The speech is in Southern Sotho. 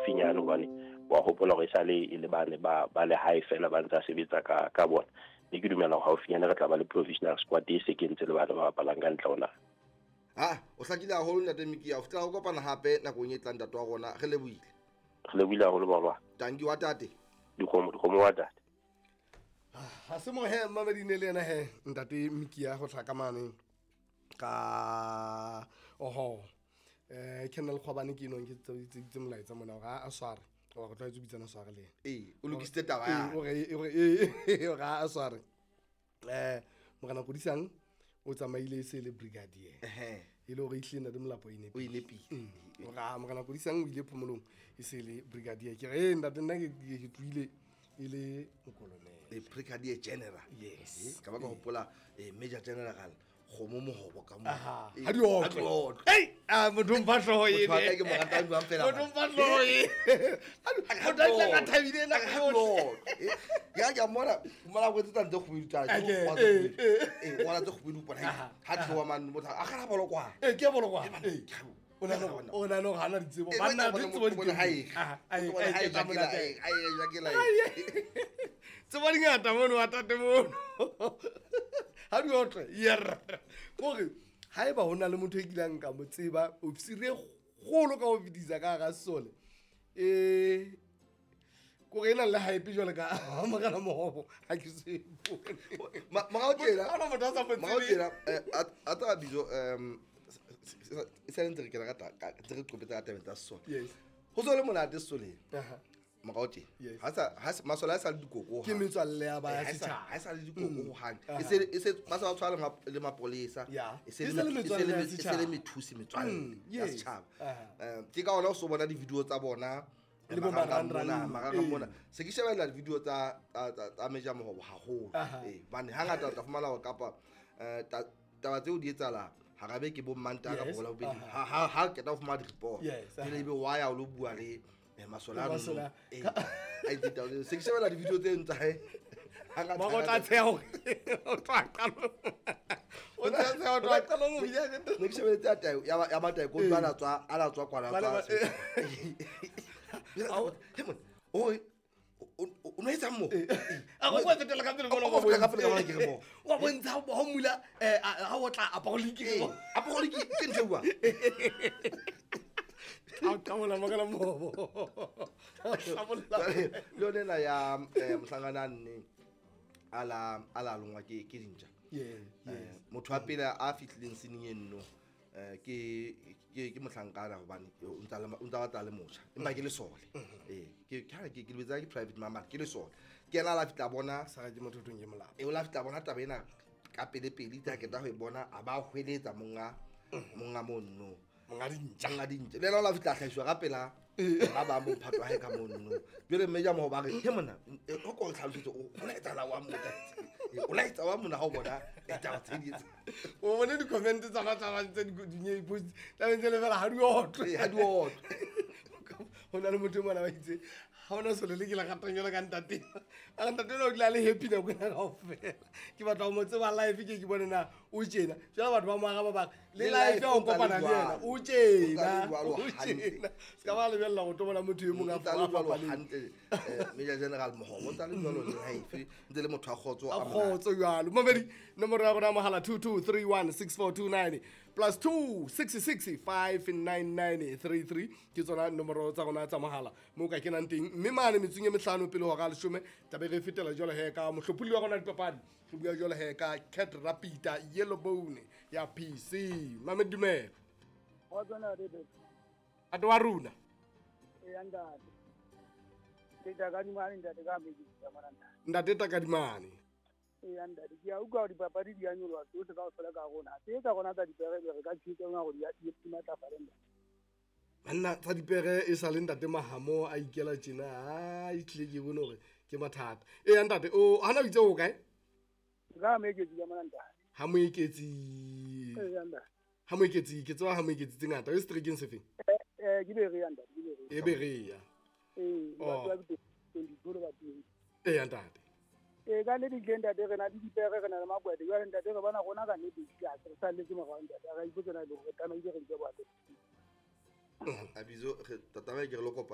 haufinyane hobane wa hopola hore esale e le bane ba ba le hae fela ba ntse a sebetsa ka ka bona. Mme ke dumela hore haufinyane re tla ba le provisional squad e se kentse le bana ba bapalang ka ntle ho naha. Ha o hlakile haholo ntate Mikia, ho fihlela ho kopana hape nakong e tlang ntate wa rona, re lebohile. Re lebohile haholo baba. Tanki wa tate. Dikgomo, dikgomo wa tate. Ha se mo he mamedi ne le yena he ntate Mikia go tlha ka mane ka oho Colonel Kgwabane ke enong ke tse molaetsa mona hore a sware wa go tlwaetse bitsana sware le ee o lokisitse taba ya o re a sware morena Kodisang o tsamaile e se le brigadier e le hore ehlile ntate Molapo e o e nepile ora morena Kodisang o ile phomolong e se le brigadier ke re ntate nna ke tlohile e le mokolonele e brigadier general. Yes. Ka ba ka hopola major general kgomo mohobo ka mo. Ha di otlwe. Ei, a motho mpha hlooho ene. Motho wa ka ke mo ratang jwang fela. Motho mpha hlooho e. Motho a tla ka thabile na ka yohle. Ya ke mona, mona go tsa ntse kgubedu tsa. Eh, wala tse kgubedu bona. Ha tlowa man motho a gana bolo kwa. Eh, ke bolo kwa. Eh. O na o na no hana ditsebo. Banna ditsebo di hae. Ai ai ai Tsebo di ngata mono wa tate mono. Ha di otle. Yer. Kore haeba ho na le motho e kileng ka mo tseba ofisiri e kgolo ka ho fetisa ka hara sesole kore e nang le hype jwale ka morena Mohobo ha ke se morao tjena Ha hona motho a sa mo morao tsebeng. tjena a tsa bizo e sa ntse re kena ka ntse re qopetsa ka tabeng tsa sesole. Yes. Ho so le monate sesoleng. Aha. Morao tjena. Yes. Ha sa ha masole a sa le dikoko. Ke metswalle ya ba ya Ha setjhaba. sa le dikoko hohang. E se ba sa tshwana le mapolesa. Yeah. E se E se le metswalle ya e se le setjhaba. methusi metswalle ya Yes. setjhaba. Aha. Ke ka hona o so bona di-video tsa bona Le bo marangrang marangrang. mona, marangrang mona. Se ke shebella di-video tsa tsa Major Mohobo haholo. Aha. Hobane hangata o tla fumana hore kapa taba tseo di etsahala hara beke bo Mantaha kapa Yes. bo Labobedi. Aha. Ha qeta ho fumana di-report. Yes. Jwale ebe wa ya o lo bua le masole a Masole a- no. A itse taba tseo. Se ke shebella di-video tse ntsa hae. Hangata, Mara o tla hangata. tsheha hore o tla qalong. O tla tsheha o tla qalong ho bile Ne ke shebelletse ya tayo, ya Mataeko, o ntse a tswa, a la tswa kwana, a Ba le tswa ba- He monna, o re, o no etsang mo? A go kwa fetela ka pele O go fetela ka pele ka mona ke re mo. Wa bontsha ha o mula ha o tla apoliki Ee, apoliki ke ntho e buang. Ha o qabola makala mobo. Qabola. Jwale, le yona ena ya mohlankana a nne a la longwa ke dintja. Yeah, yes. Motho wa pele a fihlileng seneng eno ke mohlankana hobane o ntsa le o ntsa batla le motjha empa ke lesole. Ke ke ke lebetsa ke private mama ke lesole. Ke yena a la fihla bona Sa ke motho thong ke molapa. o la fihla bona taba ena ka pele pele itse ha qeta ho e bona a ba hweletsa monga monga mono. Monga dintja. Monga dintja. Le yena o la fihla a hlahiswa ka pela ba bang bo mphato wa hae ka mono. Jwale mme ja mo ba re, "He monna, o ko o tlhalosetse, o la etsahala wa monna. O la etsa wa monna ha o bona taba tse di etsa." O bone di-comment tsa batho ba ntse di post tla ntse le fela ha di otlwe. Ee, ha di otlwe. Ho na le motho e mona ba itse ha ona sole le ke le ratang jwalo ka ntate. A re ntate enwa o dula a le happy nako ena kaofela. Ke batla ho mo tseba live ke ke bone na o tjena. Jwale batho ba mo araba ba re, le Le live life ha o o ntsa le kopana le yena, jwalo. o O ntsa tjena, le jwalo o hantle. tjena. Se ka ba lebella ho tlo bona motho e mong a O ntsa le jwalo fapaneng. hantle, Major General Mohobo, o ntsa le jwalo le life, ntse le motho wa kgotso A a monate. kgotso jwalo. Mamedi, nomoro ya rona ya mohala 22316429 plus 266 59933 ke tsona nomoro tsa rona tsa mohala moo ka kenang teng. Mme mane metsong e mehlano pele hora ya leshome tlabe re fetela jwalo he ka mohlopholli wa rona dipapadi. Re bua jwalo he ka Cat Rapita Yellow Bone ya PC. Mamedi, dumela. Kgotso ntate Betty. Ate wa rona. Eya ntate. Ke Takadimane ntate ka Meketsi ka mona ntate. Ntate Takadimane. Eya ntate, ke a utlwa hore dipapadi di a nyoloha tsohle kaofela ka rona. Tse tsa rona tsa dipere be re ka tshehetsa hore di matlafale ntate. Banna tsa dipere e sa le ntate Mahamo a ikela tjena, ha e tlile ke bone hore ke mathata. Eya ntate, o hana o itse o kae? Ka Moeketsi ka mona ntate. Ha Moeketsi. Eya ntate. Ha Moeketsi, ke tseba ha Moeketsi tse ngata. O seterekeng se feng? Ke Berea ntate, ke Berea. E Berea. Ee, Oh. batho ba 22 le batho. Eya ntate. Ee, ka nnete tlile ntate, re na le dipere, re na le makwete. Jwale ntate, re bona rona ka nnete ke a re salletse morao ntate. Ha re ipotse na e le hore re tlamehile re nke bohato. Abizo, re tla tlameha ke re lo kopa